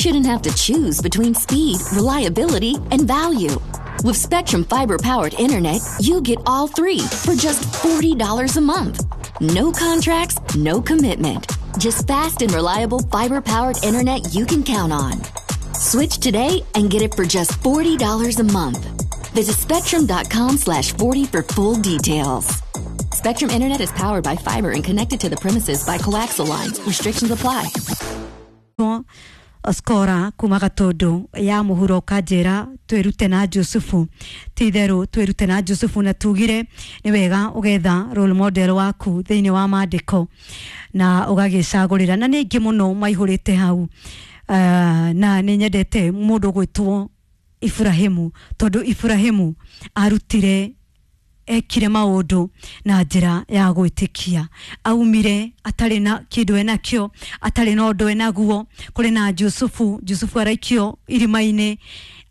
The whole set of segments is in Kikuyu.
shouldn't have to choose between speed, reliability, and value. With Spectrum Fiber powered internet, you get all three for just $40 a month. No contracts, no commitment. Just fast and reliable fiber powered internet you can count on. Switch today and get it for just $40 a month. Visit spectrum.com/40 for full details. Spectrum Internet is powered by fiber and connected to the premises by coaxial lines. Restrictions apply. Skora kuma Gatundu ya muhuro kanjira twirute na Jusufu, ti itheru twirute na Jusufu, na tugire ni wega ugetha role model waku thiini wa mandiko na ugagicagurira, na ni ingi muno maihurite hau. Na ni nyendete mundu gwitwo Ibrahimu, tondu Ibrahimu arutire ekire maundu na njira ya gwitikia, aumire atari na kindu enakio, atari na undu enaguo. Kuri na Jusufu, Jusufu araikio irima-ini,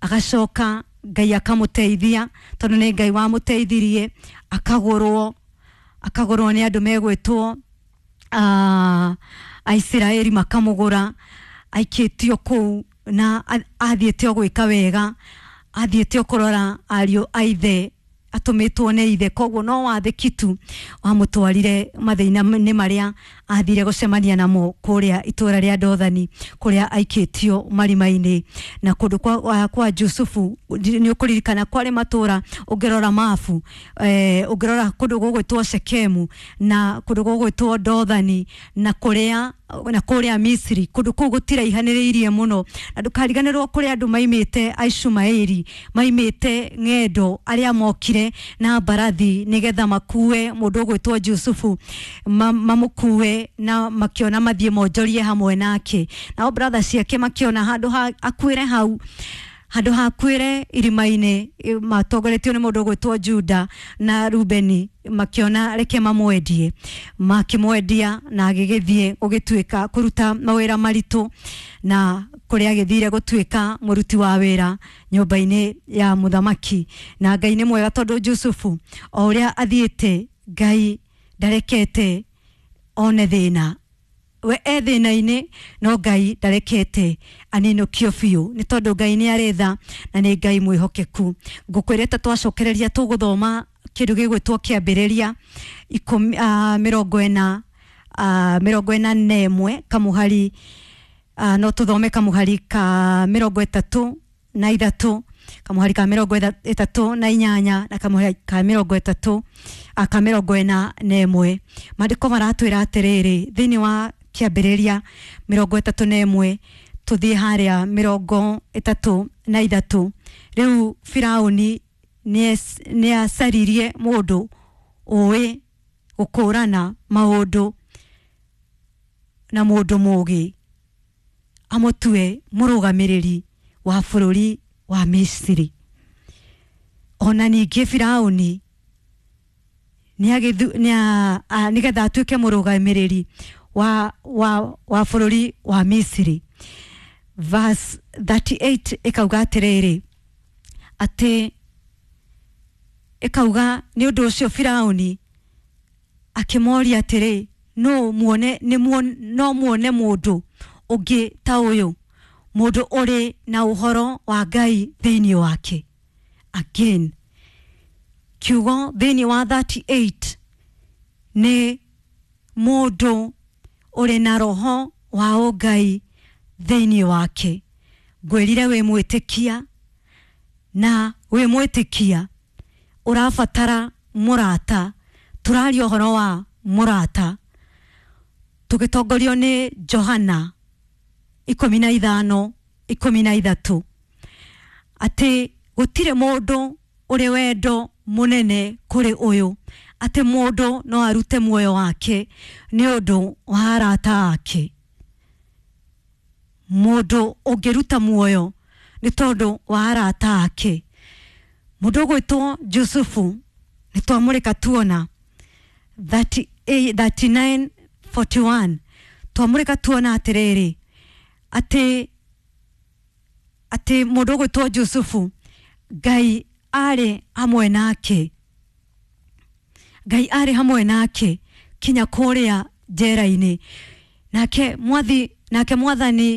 agacoka Ngai akamuteithia, tondu ni Ngai wamuteithirie, akagurwo ni andu megwitwo Aisiraeli, makamugura aikitio kuu, na athiĩte o gwĩka wega, athiĩte o kũrora ariũ a ithe, atũmĩtwo nĩ ithe, koguo no wathĩki tu wamũtwarire mathĩna-inĩ marĩa athire gũcemania namo kũrĩa itũra rĩa Dothani, kũrĩa aikĩtio marima-inĩ. Na kũndũ kwa Jusufu nĩ ũkũririkana kwarĩ matũra, ũngĩrora mabu, ũngĩrora kũndũ gũgwĩtwo Shekemu na kũndũ gũgwĩtwo Dothani na kũrĩa Misiri, kũndũ kũu gũtiraihanĩrĩirie mũno. Na ndũkariganĩrwo kũrĩ andũ maimĩte Aishumaeli, maimĩte ng'endo, arĩa mokire na mbarathi nĩgetha makue mũndũ ũgwĩtwo Jusufu, mamũkue na makiona mathiĩ monjorie hamwe nake. Nao brother ciake makiona handũ ha akuĩre hau, handũ hakuĩre irima-inĩ, matongoretio nĩ mũndũ ũgwĩtwo Juda na Rubeni, makiona reke mamwendie, makĩmwendia na agĩgĩthiĩ gũgĩtuĩka kũruta mawĩra maritũ, na kũrĩa agĩthire gũtuĩka mũruti wa wĩra nyũmba-inĩ ya mũthamaki. Na Ngai nĩ mwega, tondũ Jusufu o ũrĩa athiĩte, Ngai ndarekete one thĩna. We e thĩna-inĩ, no Ngai ndarekete aninũkio biũ, nĩ tondũ Ngai nĩ arĩ tha na nĩ Ngai mwĩhokeku. Ngũkwĩrĩte twacokereria tũgũthoma kĩndũ gĩgwĩtwo Kĩambĩrĩria ikũmi, 41 kamũhari, no tũthome kamũhari ka 33, kamũhari ka 38 na kamũhari ka 30, ka 41. Maandĩko maratwĩra atĩrĩrĩ thĩinĩ wa Kĩambĩrĩria 31, tũthiĩ harĩa 33. Rĩu Firaũni nĩ acaririe mũndũ ũĩ gũkũrana maũndũ na mũndũ mũũgĩ, amũtue mũrũgamĩrĩri wa bũrũri wa Misiri. Ona ningĩ Firaũni nĩgetha atuĩke mũrũgamĩrĩri wa bũrũri wa Misiri. Verse 38 ĩkauga atĩrĩrĩ, atĩ ĩkauga nĩ ũndũ ũcio Firaũni akĩmoria atĩrĩ, no muone no muone mũndũ ũngĩ ta ũyũ, mũndũ ũrĩ na ũhoro wa Ngai thĩinĩ wake? Again, kiugo thĩinĩ wa 38 nĩ mũndũ ũrĩ na roho wa ũngai thĩinĩ wake. Ngwĩrire wĩ mwĩtĩkia, na wĩ mwĩtĩkia ũrabatara mũrata. Tũraria ũhoro wa mũrata tũgĩtongorio nĩ Johana 15:13, atĩ gũtirĩ mũndũ ũrĩ wendo mũnene kũrĩ ũyũ, atĩ mũndũ no arute muoyo wake nĩ ũndũ wa arata ake. Mũndũ ũngĩruta muoyo nĩ tondũ wa arata ake. Mũndũ ũgwĩtwo Jusufu nĩ twamũrĩka tuona 39:41, twamũrĩka tuona atĩrĩrĩ, atĩ mũndũ ũgwĩtwo Jusufu, Ngai arĩ hamwe nake, Ngai arĩ hamwe nake kinya kũrĩa njera-inĩ, nake mwathi nake mwathani.